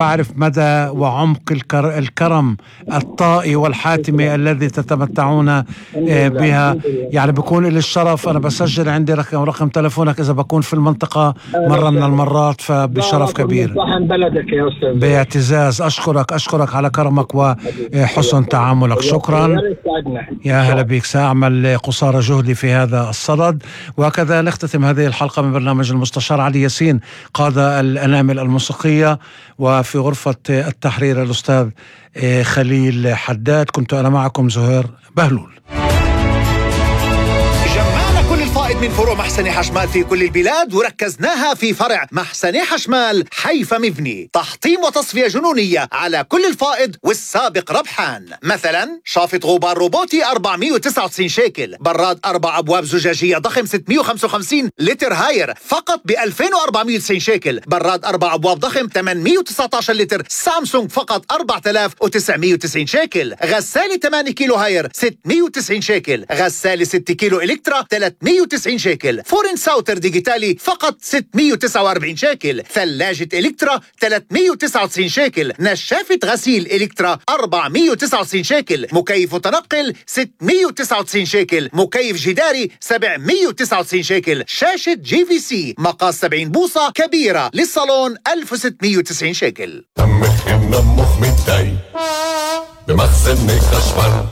أعرف مدى وعمق الكرم الطائي والحاتمي الذي تتمتعون بها. يعني بكون لي الشرف، أنا بسجل عندي رقم تلفونك إذا بكون في المنطقة مرة من المرات، فبشرف كبير. بلدك يا أستاذ. باعتزاز أشكرك على كرمك وحسن تعاملك. شكرا. يا هلا بك. سأعمل قصارى جهدي في هذا الصدد. وهكذا نختتم هذه الحلقة من برنامج المستشار علي ياسين، قاد الأنامل الموسيقية، وفي غرفة التحرير الأستاذ خليل حداد. كنت أنا معكم زهير بهلول. جمعنا كل الفائض من فروع محسن حشمال في كل البلاد وركزناها في فرع محسن حشمال حيفا مبني. تحطيم وتصفية جنونية على كل الفائض والسابق ربحان. مثلا شافط غبار روبوتي 499 شيكل، براد 4 أبواب زجاجية ضخم 655 لتر هاير فقط ب 2490 شيكل، براد 4 أبواب ضخم 819 لتر سامسونج فقط 4990 شيكل، غسالة 8 كيلو هاير 690 شيكل، غسالة 6 كيلو إلكترا 390 شيكل، فرن ساوتر ديجيتالي فقط 649 شيكل، ثلاجة إلكترا 399 شيكل، نشافة غسيل إلكترا 499 شيكل، مكيف متنقل 699 شيكل، مكيف جداري 799 شيكل، شاشة GVC مقاس 70 بوصة كبيرة للصالون 1690 شيكل. دمك يمنا مخ متضايق بمخزن حشمال.